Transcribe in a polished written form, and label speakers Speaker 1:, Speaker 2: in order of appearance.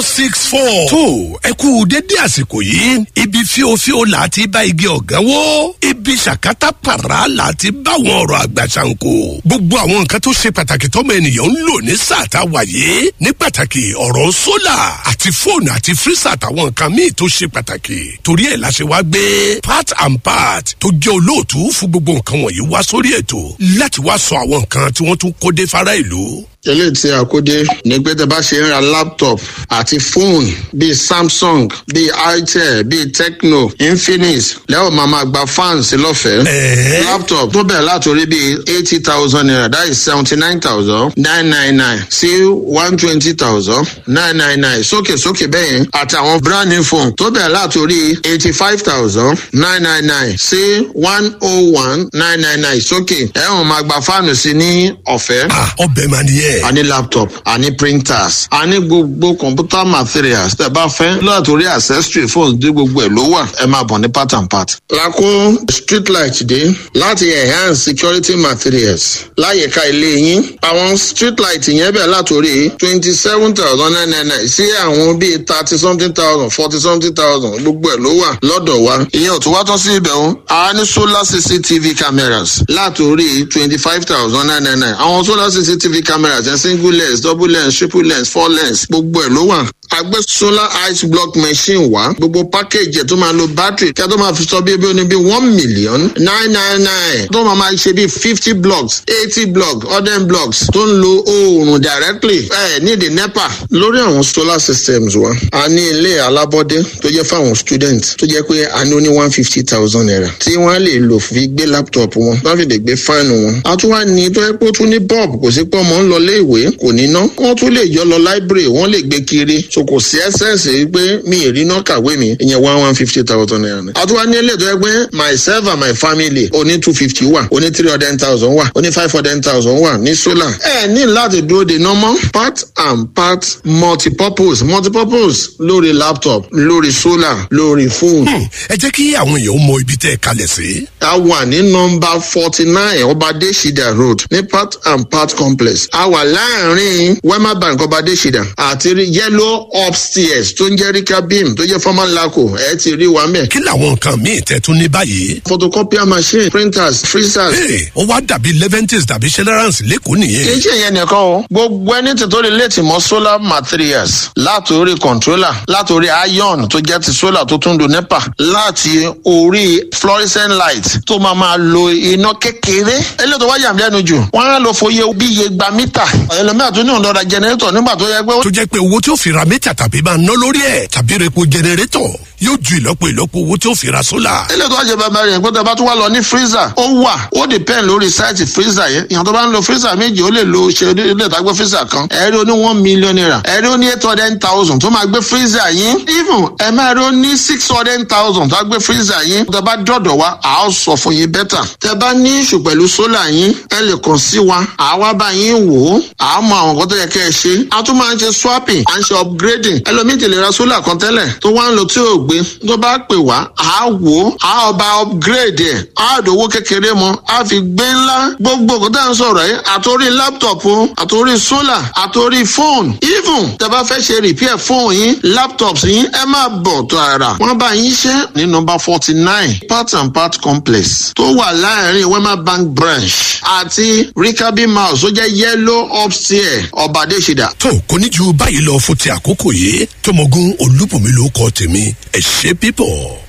Speaker 1: 64. Tó ẹ kú dédé àsìkò yìí, ibi fíofío là á ti bá igi ọ̀gán wó, ibi ṣàkátà pàrà là á ti bá àwọn ọ̀rọ̀ àgbà ṣàǹkó. Gbogbo àwọn nǹkan tó ṣe pàtàkì tọ́mọ ènìyàn ń lò ní sáà tá a wà yìí, ní pàtàkì ọ̀rọ̀ sólà àti fóònù àti fírísà àtàwọn nǹkan míì tó ṣe pàtàkì. Torí ẹ̀ la ṣe wá gbé Part and Part tó jẹ́ olóòtú fún gbogbo nǹkan wọ̀nyí wá sórí ètò láti wá sọ àwọn nǹkan tí wọ́n tún kó dé fara ìlú.
Speaker 2: Eléyìí tí a kó dé ní pé tẹ bá ṣe ń ra laptop àti fóònù bíi Samsung, bíi Itel, bíi Tecno, Infinix, lẹ́wọ̀n máa gba fans lọ́fẹ̀ẹ́. Laptop tó bẹ̀rẹ̀ látòrí bíi ₦80,000, that is 79,999 sí 120,999 sókè sókè bẹ́ẹ̀ yẹn, àti àwọn brand new phone tó bẹ̀rẹ̀ látòrí 85,999 sí 101,999 sókè, ẹ̀wọ̀n máa gba fáànù sí ní ọ̀fẹ́.
Speaker 1: Ọbẹ̀ máa ní ẹ̀.
Speaker 2: A ní laptop, a ní printers, a ní gbogbo computer materials tẹ́ bá fẹ́, látòrí accessory phones dé, gbogbo ẹ̀ ló wà. Ẹ máa bọ̀ ní Part and Part. Lakó street light dé láti enhance security materials láyìíká ilé yín. Àwọn street light yẹn bẹ̀ látòrí 27,999 sí àwọn bíi thirty something thousand, forty something thousand, gbogbo ẹ̀ ló wà lọ́dọ̀ wa. Ìyẹn ò tún wá tán sí ibẹ̀ o. A ní solar CCTV cameras látòrí 25,999. Àwọn solar CCTV cameras ẹ̀, single lens, double lens, triple lens, four lens, gbogbo ẹ̀ ló wà. A gbé solar ice block machine wá, gbogbo package ẹ̀ tó máa lo battery kí a tó máa fi sọ bí ebi ó ní bí 1,000,999, tó máa ṣe bí 50 blocks, 80 blocks, 100 blocks, tó ń lo oòrùn directly ẹ̀ ní the NEPA. Lórí àwọn solar systems wa, a ní ilé alábọ́dé tó jẹ́ fáwọn student, tó jẹ́ pé a ní ó ní ₦150,000 tí wọ́n lè lò fi gbé laptop wọn, wọ́n fi lè gbé fáànù wọn. A tún wá ní tó yẹ pé ó tún ní bulb, kò sí pé ọmọ ń lọ ilé ìwé kò ní ná, wọ́n tún lè yọ lọ library, wọ́n lè gbé kiri, so kò sí essence pé mi ì rí iná kàwé mi. Ìyẹn ₦150,000 ni. A tún wá ní ilé tó yẹ pé myself and my family, oní 250 wà, oní 300,000 wà, oní 500,000 wà ní solar. Ẹ ní láti dúró de normal. Part and Part multipurpose, multipurpose lórí laptop, lórí solar, lórí phone.
Speaker 1: Ẹ jẹ́ kí àwọn èèyàn mọ ibi tẹ́ ẹ kalẹ̀ sí.
Speaker 2: A wà ní nọmba 49 Ọbadẹ́sídà Road ní Part and Part Complex. A wà láàrin Wema Bank Ọbadẹ́sídà àti yellow upstairs tó ń jẹ́ Rika Bim, tó jẹ́ former LACO. Ẹ ti rí wa mẹ́.
Speaker 1: Kí làwọn nǹkan míì tẹ́ tún ní báyìí?
Speaker 2: Photocopier machine, printers, freezers.
Speaker 1: Ee, ó wá dàbí Leventis tàbí Celeran's lẹ́kọ̀ọ́ nìyẹn.
Speaker 2: Kì í ṣe ìyẹn nìkan o. Gbogbo ẹni tí tó lè létí mọ́ solar materials, látòrí controller, látòrí iron tó jẹ́ ti solar tó tún do NEPA, láti orí fluorescent light tó máa lo iná kékeré. Eléyìí tó wá yà mí lẹ́nu jù, wọ́n á lọ fòye bí iye gba mítà. Ẹlòmíràn tó ní òun lọ ra generator nígbà tó yẹ pé.
Speaker 1: Tó jẹ́ pé owó tí ó fi ra mítà tàbí máa ná lórí ẹ̀ tàbí repo generator yóò ju ìlọ́po ìlọ́po owó tí ó fi ra solar.
Speaker 2: Eléyìí tó wá jẹ bàbá rẹ̀ pé tó bá tún wá lọ ní freezer, ó wà. Ó depend lórí size freezer yẹn. Ìyàn tó bá ń lo freezer méjì, ó lè lo ṣe ilé ìtagbé freezer kan. Ẹ̀rí ó ní ₦1 million, ẹ̀rí ó ní 800,000 tó máa gbé freezer yín. Even ẹ̀ máa rí ó ní 600,000 tó máa gbé freezer yín. Tó bá dọ̀dọ̀ wa, à á sọ fún yín better. Tẹ bá ní issue pẹ̀lú solar yín, ẹ lè kàn sí wa, à wá bá yín wò ó, à á mọ àwọn nǹkan tó yẹ kẹ́ ẹ ṣe. A tún máa ń ṣe swapping, à ń ṣe upgrading. Ẹlòmíì ti lè ra solar kan tẹ́lẹ̀ tó wá ń lo tí ò gbé, tó bá pè wá, à á wò ó, à á ọba upgrade ẹ̀, á dòwó kékeré mọ́, á fi gbé ńlá. Gbogbo nǹkan tá à ń sọ̀rọ̀ yìí, àtòrí laptop o, àtòrí solar, àtòrí phone, even tẹ bá fẹ́ ṣe repair phone yín, laptops yín, ẹ máa bọ̀ tààrà. Wọ́n bá yín ṣe ní nọmba 49 Part and Part Complex tó wà láàrin Wema Bank branch àti Rikabi House tó jẹ́ yellow upstairs, Ọbadẹ́sídà.
Speaker 1: Tó kò ní ju báyìí lọ fún ti àkókò yìí. Tọmọgún Olúbùnmi ló kọ tèmi. Ẹ ṣé pípọ̀.